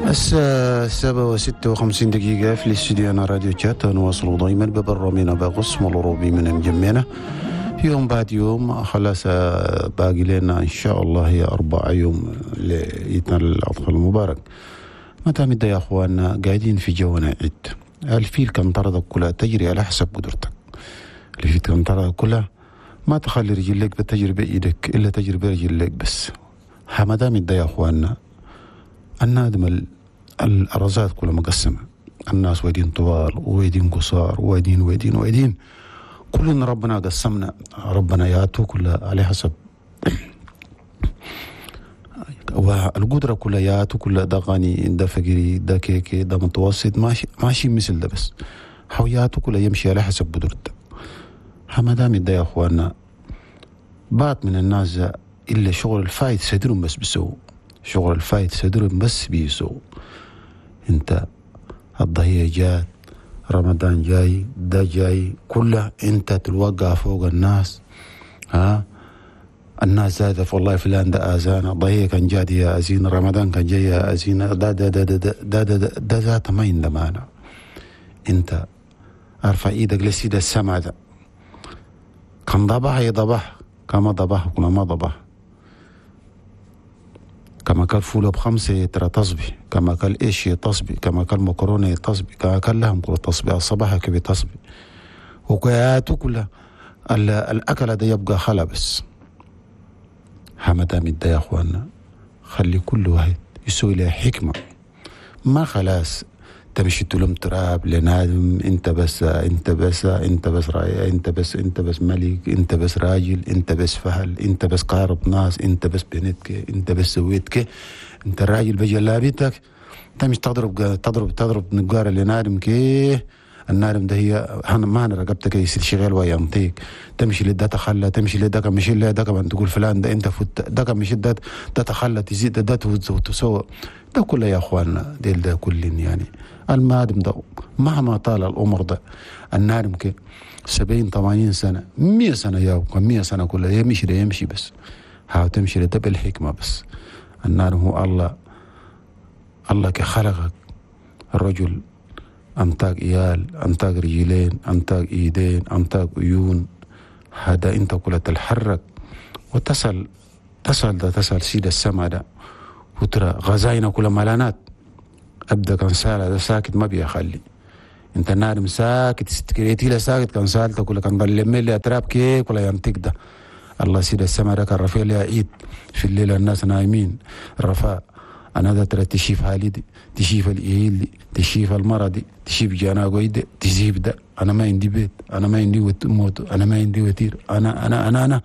الساعة 7:56 في الاستوديو أنا راديو تشات. نواصل دائما ببرنامجنا بقسم الأوروبي من مجمعنا يوم بعد يوم. خلاص باقي لنا إن شاء الله هي 4 يوم لعيدنا الأضحى المبارك. متى مدى يا أخواننا قاعدين في جونا عيد. الفيل كان طردك كلها تجري على حسب قدرتك. الفيل كان طردك كلها ما تخلي رجلك بتجري بإيدك إلا تجري برجلك بس. ما دام يا أخواننا النادم الأرزات كلها مقسمة، الناس ويدين طوال ويدين قصار ويدين ويدين ويدين، كلنا ربنا قسمنا، ربنا ياتو كلها على حسب والقدرة كلها ياتو كلها، ده غني ده فقيري ده كيكي ده متوسط، ماشي ماشي مثل ده بس حوياته كلها يمشي على حسب قدرته. ما دام ده يا اخواننا بعض من الناس إلا شغل الفايت صدرهم بس بيسووا شغل الفايت صدرهم بس بيسووا. انت الضحية جات، رمضان جاي، ده جاي، كله انت تلوقع فوق الناس. ها الناس زادت والله فلان ده اذانا، الضحية كان جاد يا ازينا، رمضان كان جاي يا ازينا، ده ده ده ده ده ده ده, ده ذات ما يندمانا. انت ارفع ايدك لسيد السما ده، كان ضبح يضبح، كما ضبح كما ما ضبح، كما كان فولة ب5 ترى تصبي، كما كان إيش تصبي، كما كان مكرونة تصبي، كما كان لهم كل تصبي، الصباح كبي تصبي، وكياتو كلها الأكل ده يبقى خلا بس. حمدام ده يا أخوانا خلي كل واحد يسوي له حكمة، ما خلاص تمشي تلم تراب لنادم، انت بس انت بس انت بس راي، انت بس انت بس ملك، انت بس راجل، انت بس فهل، انت بس قارب ناس، انت بس بنتك، انت بس سويتك، انت الراجل بجلابيتك تمشي تضرب تضرب تضرب نقار لنادم كي النارم ده هي ما انا رقبتك يصير شغال وينطيك، تمشي لده تخلى، تمشي لده مشي لده كمان تقول فلان ده انت فوت، ده مشي ده ده تخلى، تزيد ده تسوى ده كله يا اخواننا ديل ده كل يعني المادم ده مهما طال العمر ده النارم كي 70 80 سنة 100 سنة يا 100 سنة كلها يمشي ده يمشي بس، هاو تمشي لده بالحكمة بس. النار هو الله، الله كخلقك الرجل أنتاج إيال، أنتاج رجلين، أنتاج إيدين، أنتاج عيون، هذا أنت كلها تتحرك وتصل تصل ده تصل سيد السما ده وترى غزاينا كلها ملانات. أبدا كان سالة ده ساكت ما بيخلي أنت النار ساكت ستكريتي له ساكت كان سالته كلها كان ضل لي أتراب كي كلها ينطق ده. الله سيد السما ده كان رفيع لها عيد في الليل الناس نايمين رفاء أنا ذا ترى تشيف حالي دي، تشيف الإيل دي، تشيف المرض دي، تشيف جناقوي دي، تشيف ده، أنا ما عندي بيت، أنا ما عندي موت، أنا ما عندي وتير، أنا أنا أنا أنا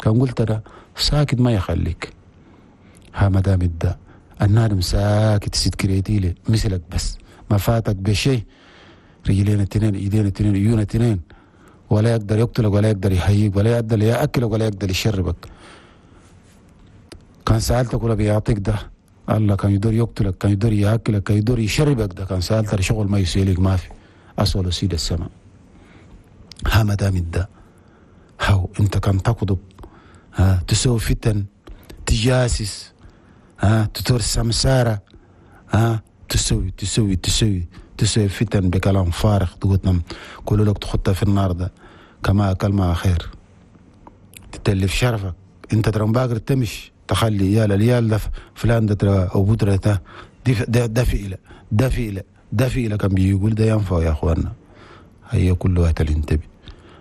كان قلت ده ساكت ما يخليك. ها ما دام ده النار ساكت سيد كريتيلي مثلك بس ما فاتك بشيء، رجلين اثنين، ايدين اثنين، عيون اثنين، ولا يقدر يقتلك ولا يقدر يحييك ولا يقدر ياكلك ولا يقدر يشربك. كان سألتك ولا بيعطيك ده الله كان يدور يقتلك، كان يدور ياكلك، كان يدور يشربك ده، كان سألت شغل ما يسيلك ما في أصل سيد السماء. ها ما دام ده هاو انت كان تكذب، ها تسوي فتن، تجاسس، ها تدور سمسارة، ها تسوي تسوي تسوي تسوي فتن بكلام فارغ، تقول كل لك تخطها في النار ده كما أكل ما خير، تتلف شرفك انت ترى باقر تمشي تخلي يا اليال ده فلان ده ترى أو بودرة ده ده ده فئلة ده فئلة ده فئلة كان بيقول ده ينفع يا أخواننا. هي كل واحد ينتبه.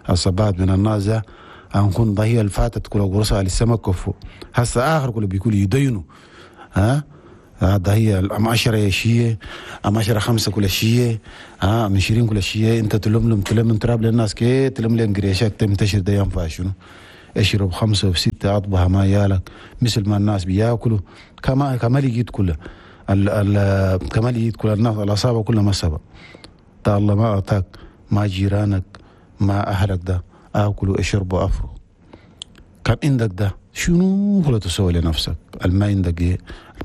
الصبات من الناس ده أنكون ضهية الفاتت كل قرصة على السمك كفو هسه آخر كل بيقول يدينوا ها هذا هي أم 10 شيء أم 10 5 كل شيء ها أم 20 كل شيء أنت تلم تلم تراب للناس كي تلم لهم قريشات تنتشر ده ينفع شنو؟ اشرب 5 و6 اطبها ما يالك مثل ما الناس بياكلوا كما لقيت كله كما لقيت كل الناس الاصابه كلها ما سبق ده الله ما اعطاك ما جيرانك ما اهلك ده اكلوا اشربوا افروا كان عندك ده شنو كله تسوي لنفسك الما عندك ايه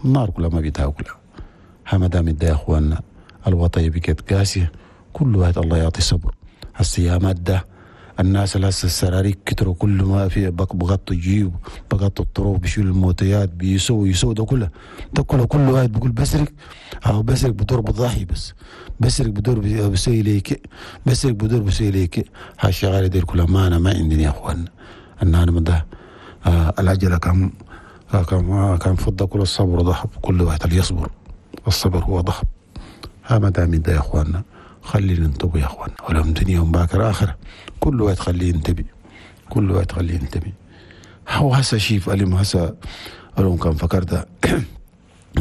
النار كلها ما بتاكلها. ما دام ده يا اخواننا الوطيه بقت قاسيه كل واحد الله يعطي صبر. الصيامات ده الناس اللي هسه السراريك كتروا، كل ما في بغطوا الجيوب، بغطوا الطرق، بيشيلوا الموتيات، بيسووا ده كله، ده كله كل واحد بيقول بسرق، أو بسرق بدور بضحي، بس بسرق بدور بسوي ليك، بسرق بدور بسوي ليك. هالشغاله دي كلها ما انا ما عندنا يا اخوان. ان انا من ده العجلة كم كم كان فضة، كل الصبر ذهب، كل واحد اللي يصبر، الصبر هو ذهب. ها ما دام ده يا اخواننا خلينا ننتبه يا اخواننا، ولهم دنيا باكر اخره، كل واحد خليه ينتبه، كل واحد خليه ينتبه. هو هسه شيف اليوم هسه اليوم كان فكرت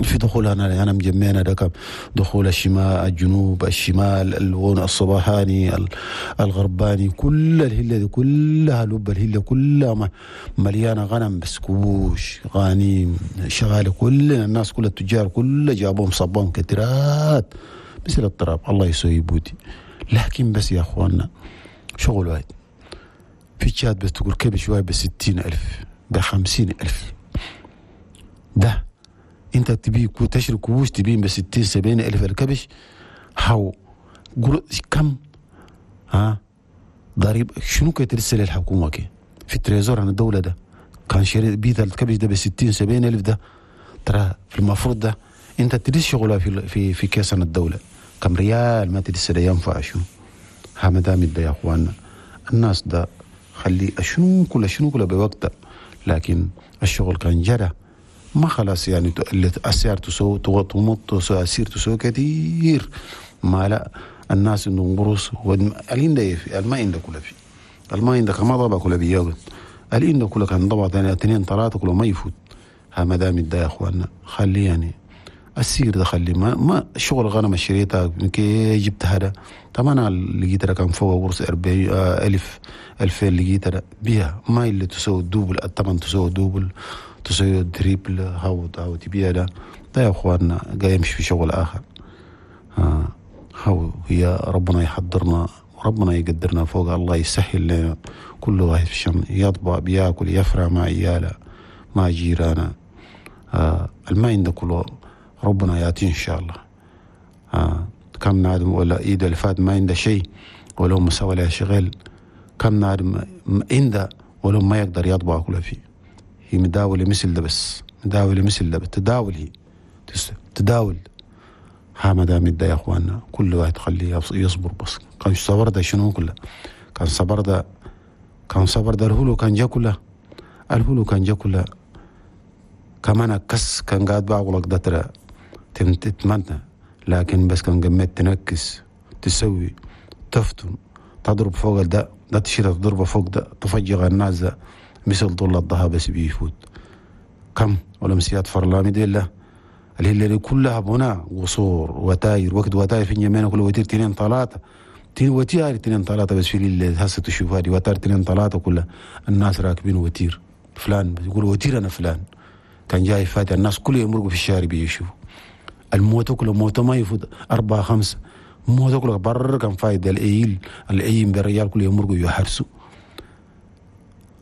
في دخول انا مجمعنا ده دخول الشمال، الجنوب، الشمال، الون الصباحاني، الغرباني، كل الهله دي كلها لب الهله كلها مليانة غنم، بس كوش غانيم شغالة، كل الناس كل التجار كل جابوهم صبهم كترات مثل التراب، الله يسوي بودي. لكن بس يا اخواننا شغل واحد في تشاد بس تقول كبش واحد ب60,000 ب50,000، ده انت تبي تشري كبوش تبين ب60-70 ألف الكبش، هاو كم ها ضريب شنو كي ترسل الحكومة كي في ال trésor عن الدولة ده كان شري بيت الكبش ده ب60-70 ألف، ده ترى في المفروض ده انت تدس شغلها في في في كيس الدولة كم ريال ما تدس ده ينفع شنو. ها ما دام ده يا اخواننا الناس ده خلي شنو كله شنو كله بوقته، لكن الشغل كان جرى ما خلاص يعني السعر تسوي تمط السير تسوي كثير، ما لا الناس عندهم قروص الين في الماء عنده كله في الماء عندك ما ضبع كله بياخذ الين كله كان ضبع اثنين ثلاثة كله ما يفوت. ها ما دام ده يا اخواننا خلي يعني السير ده خلي ما شغل غنم شريتها كي جبت هذا طبعا لقيت كان فوق قرص 40,000 2000 لقيت بيها ما اللي تسوي double الثمن تسوي double تسوي triple هاو هاو تبيع ده ده يا اخواننا جاي يمشي في شغل اخر. ها هاو هي ربنا يحضرنا وربنا يقدرنا فوق، الله يسهل لنا كل واحد في الشم يطبع بياكل يفرح مع عياله مع جيرانه. الماء عنده كله ربنا ياتي ان شاء الله. كم نادم ولا ايد اللي فات ما عنده شيء ولو مسوي له شغل، كم نادم عنده ولو ما يقدر يطبع كله فيه. هي مداولة مثل ده بس مداولة مثل ده تداول، هي تداول. ها ما دام ده يا اخواننا كل واحد خليه يصبر بس. كان صبر ده شنو كله كان صبر ده، كان صبر ده الهلو كان جا كله، الهلو كان جا كله كمان كس كان قاعد بعقلك ده ترى تتمنى، لكن بس كان قمت تنكس تسوي تفتن تضرب فوق ده ده تشيل تضربه فوق ده تفجر الناس ده مثل طول الضها بس بيفوت كم ولا مسيات فرلامي دي لا الهلة كلها بناء قصور وتاير وقت وتاير في اليمين كل وتير 2 3 وتيار 2 3 بس في الليل هسه تشوفها دي وتار 2 3 كلها الناس راكبين وتير فلان يقول وتير انا فلان كان جاي فات الناس كل يمرقوا في الشارع بيشوفوا الموت كله موت ما يفوت 4 5 موت كله بر كان فايد الايل الايم بالريال كل يمرقوا يحرسوا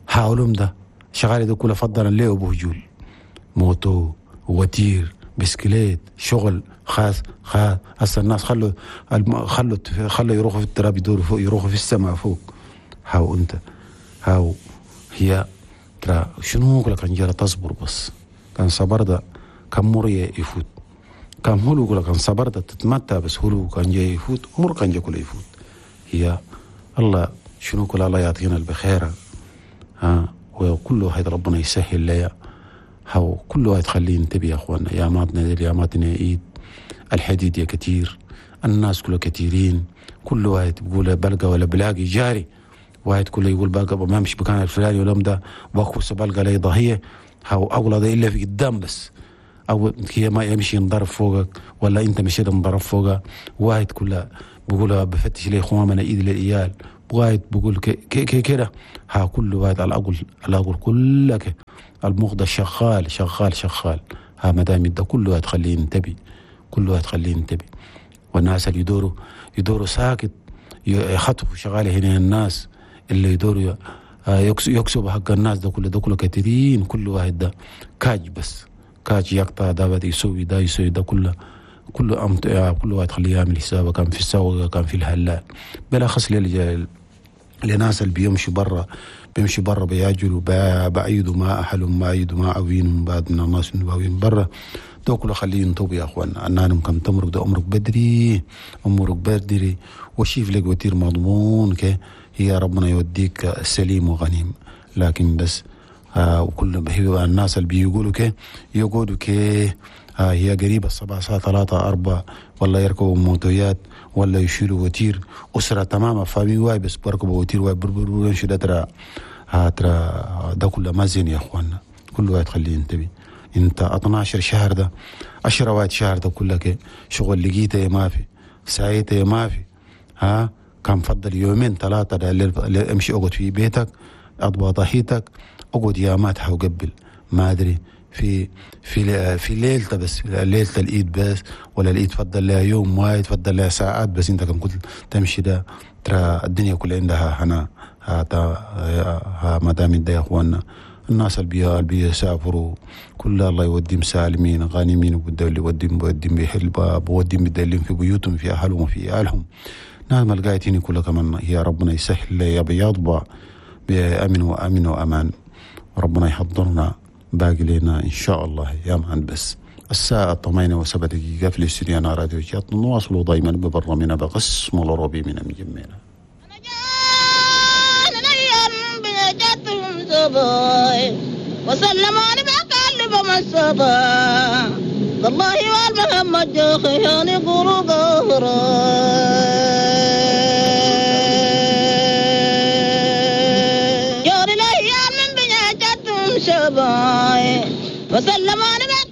حاولهم ده شغال ده كله فضلا ليه بهجول موتو وتير بسكليت شغل خاص خاص. هسه الناس خلوا خلوا خلوا يروحوا في التراب يدوروا فوق يروحوا في السماء فوق. هاو انت هاو هي ترى شنو لك كان جرى تصبر بس كان صبر ده كان مر يفوت كان هلو كان صبر ده تتمتع بس هلو كان جاي يفوت مر كان جاي كله يفوت. هي الله شنو كل الله يعطينا البخيرة ها وكل واحد ربنا يسهل ليا هاو كل واحد خليه ينتبه يا اخوانا. يا ماتنا يا ماتنا ايد الحديد يا كتير الناس كله كثيرين كل واحد بيقول بلقى ولا بلاقي جاري واحد كله يقول بلقى ما مش بكان الفلاني ولا ده بخص بلقى لي ضهيه هاو اغلى ده الا في قدام بس او هي ما يمشي ينضرب فوقك ولا انت مشيت انضرب فوقه. واحد كله بيقول بفتش لي خوام انا ايد للعيال واحد بيقول كي كده ها كل واحد على الاقل على الاقل كلك المخ ده شغال شغال شغال. ها ما دام ده كله واحد خليه ينتبه كل واحد خليه ينتبه. والناس اللي يدوروا ساكت يخطفوا شغالة هنا الناس اللي يدوروا يكسبوا حق الناس ده كله ده كله كثيرين. كل واحد ده كاج بس كاج يقطع ده بده يسوي ده يسوي ده كله كله كل واحد خليه يعمل حسابه كان في السوق كان في الهلال بلا خص لناس اللي بيمشوا برا، بيمشوا برا بياجلوا بعيدوا ما أهلهم، بعيدوا ما عوينهم، بعد من الناس اللي برا تاكلوا. خليه ينطبوا يا اخوانا، النانم كم تمرق ده امرك بدري، امرك بدري وشيف لك وتير مضمون كي هي ربنا يوديك سليم وغنيم. لكن بس وكل هي الناس اللي بيقولوا كي يقولوا كي هي قريبة الصباح الساعة 3 4 ولا يركبوا موتويات ولا يشيلوا وتير أسرة تماما famille واي بس بركبوا وتير واي بربر يمشوا ده ترى ترى ده كله ما زين يا اخوانا. كل واحد خليه ينتبه. انت 12 شهر ده 10 واحد شهر ده كلك شغل لقيته ما في، سايته ما في، ها كان فضل يومين 3 ده امشي اقعد في بيتك، اضبط ضحيتك، اقعد يا ما تحوقبل ما ادري في في في ليلته بس، ليلة الايد بس، ولا الايد فضل لها يوم واحد، فضل لها ساعات بس. انت كان كنت تمشي ده ترى الدنيا كلها عندها هنا ها ما دام ده يا اخواننا. الناس اللي بيسافروا كل الله يوديهم سالمين غانمين، وبده يوديهم بوديهم بيحل بوديهم بدلهم في بيوتهم في اهلهم وفي اهلهم. ناس ما لقيتيني كلها كمان يا ربنا يسهل يا بيضبع بأمن وأمن وأمان، وربنا يحضرنا باقي لنا إن شاء الله يا مان. بس الساعة 8:07 في الاستوديو راديو جات، نواصل دائما ببرنامجنا بقسم العربي من مجمعنا. وسلموني بقلب من الصبا والله والمحمد جوخياني قرو قهرا.